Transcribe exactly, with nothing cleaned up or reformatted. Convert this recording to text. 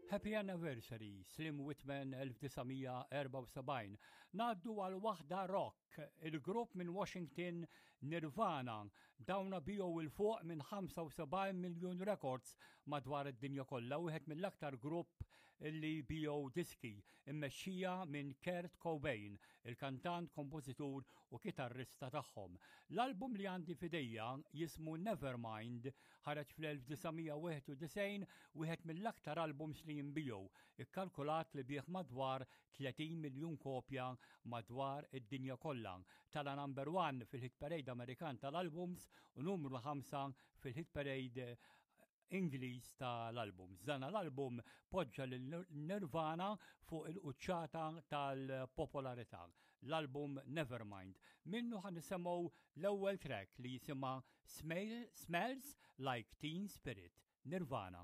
Happy Anniversary, Slim Whitman elf disa' mija erbgħa u sebgħin. Ngħaddu għal waħda rock, il-grupp minn Washington, Nirvana. Dawna biegħu 'l fuq minn ħamsa u sebgħin miljon records madwar id-dinja kollha, wieħed mill-aktar grupp li biegħu diski, immexxija minn Kurt Cobain, il-kantant, kompożitur u kitarrista tagħhom. L-album li għandi f'idejja jismu Nevermind, ħareġ fl-elf disa' mija wieħed u disgħin, wieħed mill-aktar albums li jinbiegħu, ikkalkulat li biegħ madwar tletin miljun kopja madwar id-dinja kollha. Tela' number one fil-hit parade Amerikan tal-albums u numru ħamsa fil-hit parade Ingliż tal-album. Dan l-album poġġa lil Nirvana fuq il-quċċata tal-popolarità. L-album Nevermind. Minnu ħa nisimgħu l-ewwel track li jisimha Smells Like Teen Spirit. Nirvana.